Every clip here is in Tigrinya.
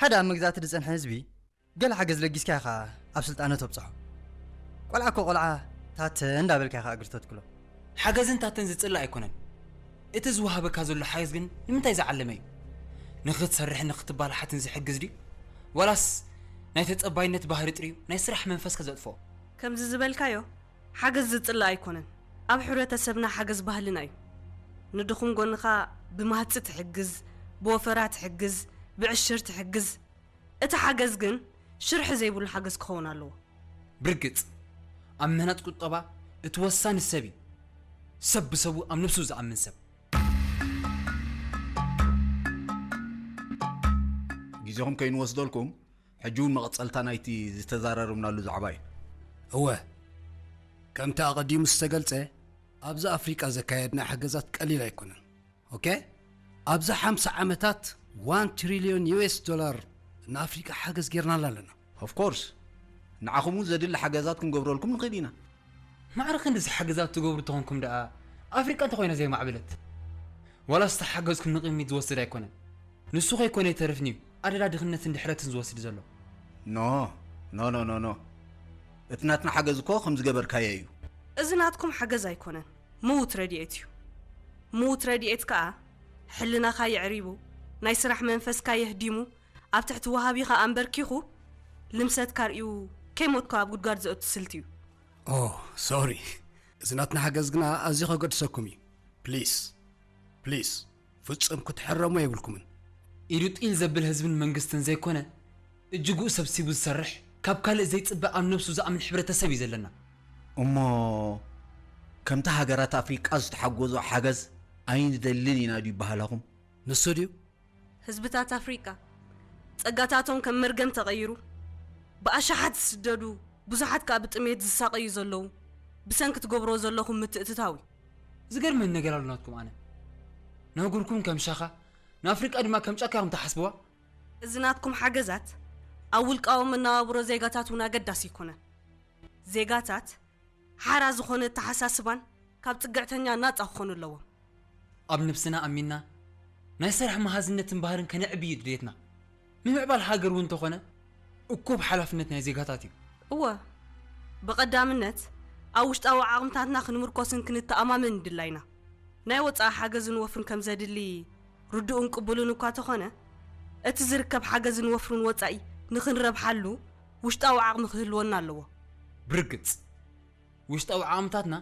ቀዳም ምግዛእቲ ዝጸንሐ ህዝቢ ገለ ሓገዝ ለጊስካ ኢኻ ኣብ ስልጣነ ተብጽሖ። ቆልዓ እኮ ቆልዓ ታተ እንዳበልካ ኢኻ እግሪ ተትክሎ። ሓገዝን ታተን ዝጽላእ ኣይኮነን። እቲ ዝወሃበካ ዘሎ ሓገዝ ግን ንምንታይ ዝዓለመ እዩ? ንኽትሰርሕን ንኽትባላሓትን ዝሕግዝ ድዩ? ዋላስ ናይ ተጸባይነት ባህሪ ጥርዩ ናይ ስራሕ መንፈስካ ዘጥፍኦ? ከምዚ ዝበልካዮ ሓገዝ ዝጽላእ ኣይኮነን። ኣብ ሕብረተሰብና ሓገዝ ባህልና እዩ። ንድኹም ጎንኻ ብማህጺ ትሕግዝ፣ ብወፈራ ትሕግዝ፣ ብዕሽር ትሕግዝ። እቲ ሓገዝ ግን ሽርሒ ዘይብሉ ሓገዝ ክኸውን ኣለዎ። ብርግጽ ኣብ ምህናጽ ቁጠባ እቲ ወሳኒ ሰብ እዩ። ሰብ ብሰቡ ኣብ ነብሱ ዝኣምን ሰብ። ግዜኹም ከይንወስደልኩም ሕጂ እውን መቐጸልታ ናይቲ ዝተዛራረብናሉ ዛዕባ እዩ። እወ፣ ከምቲ ኣቐዲሙ ዝተገልጸ ኣብዚ ኣፍሪቃ ዘካየድና ሓገዛት ቀሊል ኣይኮነን። ኦኬ፣ ኣብዚ ሓምሳ ዓመታት ዋን ትሪልዮን ዩኤስ ዶላር ንኣፍሪቃ ሓገዝ ጌርናላ ኣለና። ኦፍኮርስ ንዓኹም እውን ዘድሊ ሓገዛት ክንገብረልኩም ንኽእል ኢና። ማዕረ ክንድዚ ሓገዛት ትገብሩ ተኾንኩም ደኣ ኣፍሪቃ እንተኾይና ዘይማዕበለት። ዋላስ ተሓገዝኩም ንቕድሚት ዝወስድ ኣይኮነን። ንሱ ከይኮነ ይተርፍን እዩ ኣደዳ ድኽነትን ድሕረትን ዝወስድ ዘሎ። ኖ ኖ ኖ ኖ ኖ እቲ ናትና ሓገዝ እኮ ከም ዝገበርካዮ እዩ። እዚ ናትኩም ሓገዝ ኣይኮነን፣ ምዉት ረድኤት እዩ። ምዉት ረድኤት ከኣ ሕልናኻ የዕሪቡ፣ ናይ ስራሕ መንፈስካ የህዲሙ፣ ኣብ ትሕቲ ወሃቢኻ ኣንበርኪኹ ልምሰትካ ርእዩ ከይሞትካ ኣብ ጉድጓድ ዘእቱ ስልቲ እዩ። ኦ ሶሪ፣ እዚ ናትና ሓገዝ ግና ኣዝዩ ከገድሰኩም እዩ። ፕሊስ ፕሊስ፣ ፍጹም ክትሕረሙ የብልኩምን። ኢዱ ጢል ዘብል ህዝብን መንግስትን ዘይኮነ እጅጉ ሰብሲቡ ዝሰርሕ ካብ ካልእ ዘይጽበ ኣብ ነብሱ ዝኣምን ሕብረተሰብ እዩ ዘለና። እሞ ከምቲ ሃገራት ኣፍሪቃ ዝተሓጎዞ ሓገዝ ኣይንደልን ኢና ድዩ ባህላኹም? ንሱ ድዩ? ህዝብታት ኣፍሪቃ ጸጋታቶም ከም መርገም ተቐይሩ ብኣሽሓት ዝስደዱ፣ ብዙሓት ከኣ ብጥሜት ዝሳቐዩ ዘለዉ ብሰንኪ ትገብርዎ ዘለኹም ምትእትታው እዩ። ዝገርመኒ ነገር ኣሎ ናትኩም። ኣነ ነጉርኩም ከም ሻኻ፣ ንኣፍሪቃ ድማ ከም ጫካ ኢኹም ትሓስብዋ። እዚ ናትኩም ሓገዛት ኣብ ውልቃዊ መነባብሮ ዜጋታት እውን ኣገዳሲ ኣይኮነን። ዜጋታት ሓራ ዝኾነ ኣተሓሳስባን ካብ ጽግዕተኛ ናጻ ክኾኑ ኣለዎም። ኣብ ነብስና ኣሚንና ናይ ስራሕ መሃዝነትን ባህርን ከነዕቢ እዩ ድሌትና። ምምዕባል ሃገር እውን እንተኾነ እኩብ ሓላፍነት ናይ ዜጋታት እዩ። እወ፣ ብቐዳምነት ኣብ ውሽጣዊ ዓቕምታትና ክንምርኮስን ክንተኣማመን ድላይና። ናይ ወጻኢ ሓገዝን ወፍርን ከም ዘድሊ ርዱእን ቅቡልን እኳ ተኾነ፣ እቲ ዝርከብ ሓገዝን ወፍርን ወጻኢ ንኽንረብሓሉ ውሽጣዊ ዓቕሚ ክህልወና ኣለዎ። ብርግጽ ውሽጣዊ ዓቕምታትና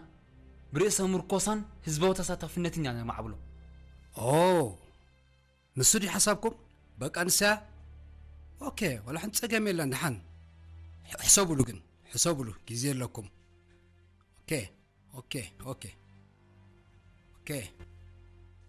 ብርእሰ ምርኮሳን ህዝባዊ ተሳታፍነትን ኢና ነማዕብሎ። ኦ ንሱ ድዩ ሓሳብኩም? በቃ ንስያ። ኦኬ፣ ወላ ሓንቲ ጸገም የለን። ደሓን ሕሰቡሉ፣ ግን ሕሰቡሉ፣ ግዜ ኣለኩም። ኦኬ ኦኬ ኦኬ ኦኬ።